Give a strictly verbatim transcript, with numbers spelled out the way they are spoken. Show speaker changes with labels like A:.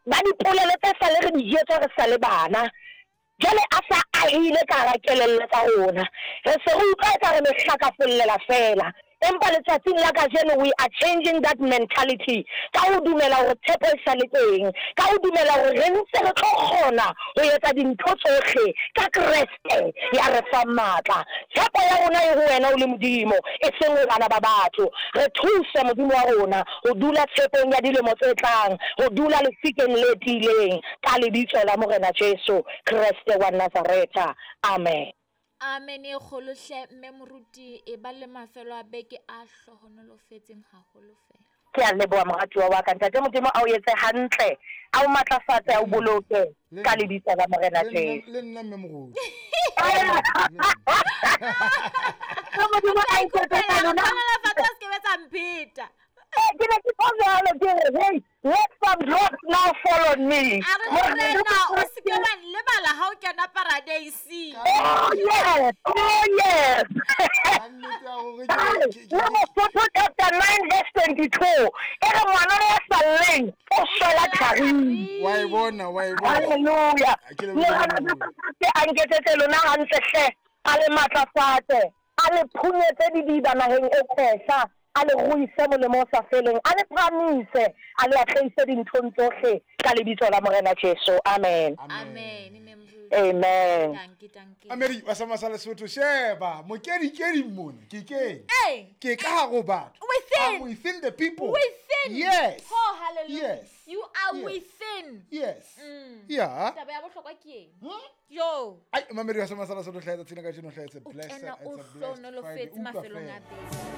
A: Ba dipolelo tse sale re di jwetswa re sa le bana. Jwale a sa ahile ka hara kelello tsa rona. Re se re utlwa eka re mehlakafollela feela. Empa letsatsing la kajeno we are changing that mentality ka ho dumela hore tshepo e sa le teng, ka ho dumela hore re ntse re tlo kgona ho etsa dintho tsohle ka Kreste ya re fang matla. Tshepo ya rona e ho wena o le Modimo, e seng ho bana ba batho. Re thuse Modimo wa rona ho dula tshepong ya dilemo tse tlang, ho dula lefikeng le tiileng, ka lebitso la Morena Jesu Kreste wa Nazaretha. Amen.
B: Amen e kgolo hle mme moruti e ba le mafelo a beke a hlohonolofetseng haholo fela.
A: Ke a leboha moratuwa wa ka. Ntate Modimo a o etse hantle, a o matlafatse, a o boloke ka lebitso la Morena Jesu.
C: Le nna mme moruti.
A: Modimo a iketsetse lona.
B: Hlohonolofatse a se ke be tsa mpheta.
A: Ke ne ke tlo jwalo ke re, hey, let some drops now fall on me.
B: A re Morena, o se ke wa nlebala ha o kena paradeising.
A: Oh yes, oh yes. Mosotho chapter nine verse twenty-two. E re ngwana ya sa lleng o shwela tharing.
C: Wa e bona, wa e bona.
A: Hallelujah. Morena a nketsetse lona hantle hle, a le matlafatse, a le phunyetse didiba naheng e tshehla, a le ruise molemo o sa feleng, a le phahamise, a le atlehise dinthong tsohle ka lebitso la Morena Jesu. Amen.
B: Amen.
A: Amen.
B: Dankie, dankie.
C: Ameri wa sa Lesotho sheba mokedikedi mona ke keng
B: Hey.
C: Ke ka hare ho batho.
B: Within.
C: I'm within the people.
B: Within.
C: Yes.
B: Oh, hallelujah.
C: Yes.
B: You are
C: Yes.
B: within.
C: Yes.
B: Mm.
C: Yeah.
B: Taba ya bohlokwa ke eng?
C: Hmm?
B: Yo.
C: Ai, Mamedi wa sa Lesotho hlaetsa tsena ka jeno hlaetsa
B: O
C: blessed,
B: kena
C: it's
B: o
C: a blessed Friday.
B: hlohonolofetse
C: Utlwa
B: mafelong a
C: feela.
B: beke.